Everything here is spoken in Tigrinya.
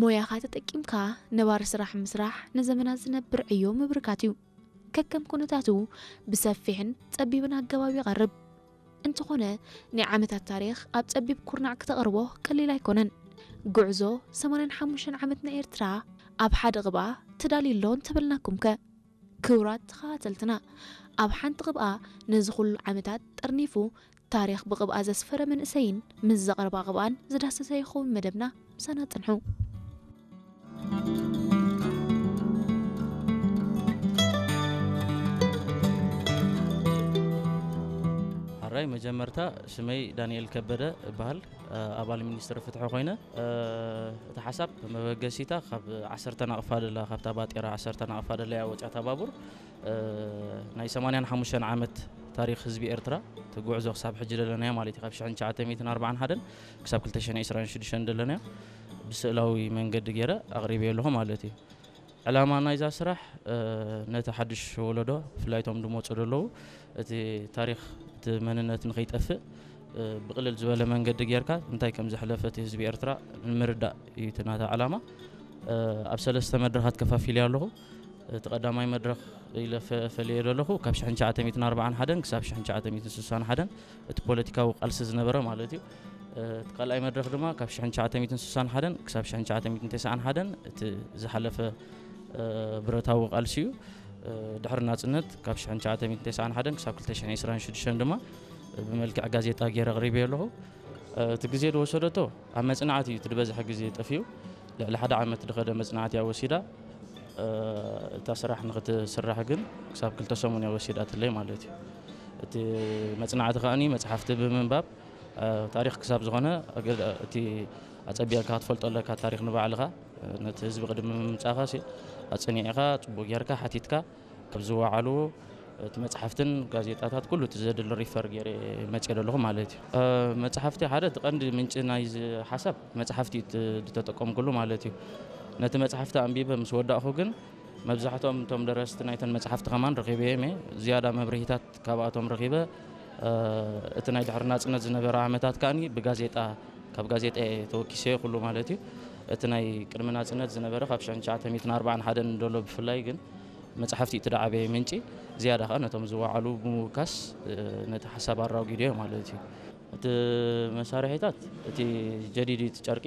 ሞያኻ ተጠቂምካ ነባሪ ስራሕ ምስራሕ ንዘመናት ዝነብር ዕዮ ምብርካት እዩ። ከከም ኩነታቱ ብሰፊሕን ጸቢብን ኣገባብ ይቐርብ። እንተኾነ፣ ናይ ዓመታት ታሪኽ ኣብ ጸቢብ ኩርናዕ ክተቕርቦ ቀሊል ኣይኮነን። ጉዕዞ ሰማንያን ሓሙሽተን ዓመት ናይ ኤርትራ ኣብ ሓደ ቕብኣ ተዳልዩ ኣሎ እንተበልናኩምከ? ክቡራት ተኸታተልትና፣ ኣብ ሓንቲ ቕብኣ ነዚ ኩሉ ዓመታት ጠርኒፉ ታሪኽ ብቕብኣ ዘስፈረ መንእሰይን ምስ ዘቕርባ ቕብኣን ዝዳሰሰ ይኸውን መደብና። ምሳና ጽንሑ። ሓራይ መጀመርታ ሽመይ ዳንኤል ከበደ እበሃል። ኣባል ሚኒስትሪ ፍትሒ ኮይነ፣ እቲ ሓሳብ መበገሲታ ካብ ዓሰርተ ናቕፋ ደላ፣ ካብታ ባጤራ ዓሰርተ ናቕፋ ደላ እያ ወፂኣታ ባቡር። ናይ ሰማንያን ሓሙሽተን ዓመት ታሪኽ ህዝቢ ኤርትራ፣ እቲ ጉዕዞ ክሳብ ሕጂ ደለናዮ ማለት እዩ፣ ካብ ሽሕን ትሽዓተ ሚእትን ኣርባዓን ሓደን ክሳብ ክልተ ሽሕን ዕስራን ሽዱሽተን ደለናዮ፣ ብስእላዊ መንገዲ ገይረ ኣቕሪበዮ ኣለኹ ማለት እዩ። ዕላማ ናይዛ ስራሕ፣ ነቲ ሓድሽ ወለዶ፣ ብፍላይ እቶም ዝመፁ ዘለዉ፣ እቲ ታሪኽ፣ እቲ መንነት ንኸይጠፍእ፣ ብቕልል ዝበለ መንገዲ ጌርካ እንታይ ከም ዘሕለፈ እቲ ህዝቢ ኤርትራ ንምርዳእ እዩ እቲ ናታ ዕላማ። ኣብ ሰለስተ መድረኻት ከፋፊለዮ ኣለኹ። እቲ ቀዳማይ መድረኽ ኢለ ፈ-፣ ፈልየ ዘለኹ ካብ ሽሕን ትሽዓተ ሚእትን ኣርባዓን ሓደን ክሳብ ሽሕን ትሽዓተ ሚእትን ስሳን ሓደን እቲ ፖለቲካዊ ቃልሲ ዝነበረ ማለት እዩ። እቲ ካልኣይ መድረኽ ድማ ካብ ሽሕን ትሽዓተ ሚእትን ስሳን ሓደን ክሳብ ሽሕን ትሽዓተ ሚእትን ተስዓን ሓደን እቲ ዝሓለፈ ብረታዊ ቃልሲ እዩ። ድሕሪ ናጽነት ካብ ሽሕን ትሽዓተ ሚእትን ተስዓን ሓደን ክሳብ ክልተ ሽሕን ዕስራን ሽዱሽተን ድማ ብመልክዕ ጋዜጣ ገይረ ኣቕሪበዮ ኣለኹ። እቲ ግዜ ዝወሰደቶ ኣብ መጽናዕቲ እዩ እቲ ዝበዝሐ ግዜ ጠፊኡ። ልዕሊ ሓደ ዓመት ዝኸደ መጽናዕቲ እያ ወሲዳ። እታ ስራሕ ንኽትስራሕ ግን ክሳብ ክልተ ሰሙን እያ ወሲዳትለይ ማለት እዩ። እቲ መጽናዕቲ ከኣኒ መጽሓፍቲ ብምንባብ፣ ታሪኽ ክሳብ ዝኾነ፣ እቲ ኣጸቢቕካ ክትፈልጦ ኣለካ ታሪኽ ንባዕልኻ። ነቲ ህዝቢ ቅድሚ ምምጻእኻ ሲ-፣ ኣጸኒዕኻ፣ ጽቡቕ ጌርካ ሓቲትካ፣ ካብ ዝወዓሉ እቲ መጽሓፍትን ጋዜጣታት ኩሉ እቲ ዘድሊ ሪፈር ገይረ መጽየ ዘለኹ ማለት እዩ። መጽሓፍቲ ሓደ እቲ ቀንዲ ምንጪ ናይዚ ሓሳብ መጽሓፍቲ እዩ እቲ ዝተጠቀምኩሉ ማለት እዩ። ነቲ መጽሓፍቲ ኣንቢበ ምስ ወዳእኹ ግን መብዛሕትኦም እቶም ደረስቲ ናይተን መጽሓፍቲ ከማን ረኺበዮም እየ። ዝያዳ መብርሂታት ካብኣቶም ረኺበ። እቲ ናይ ድሕሪ ናጽነት ዝነበረ ዓመታት ከኣኒ ብጋዜጣ፣ ካብ ጋዜጣ እየ ተወኪሰዮ ኩሉ ማለት እዩ። እቲ ናይ ቅድሚ ናጽነት ዝነበረ ካብ ሽሕን ትሽዓተ ሚእትን ኣርባዓን ሓደን ዘሎ ብፍላይ ግን መጽሓፍቲ እዩ እቲ ዝዓበየ ምንጪ። ዝያዳ ከኣ ነቶም ዝወዓሉ ብምውካስ ነቲ ሓሳብ ኣራጒደዮ ማለት እዩ። እቲ መሳርሒታት፣ እቲ ጀዲድ እዩ፣ እቲ ጨርቂ፣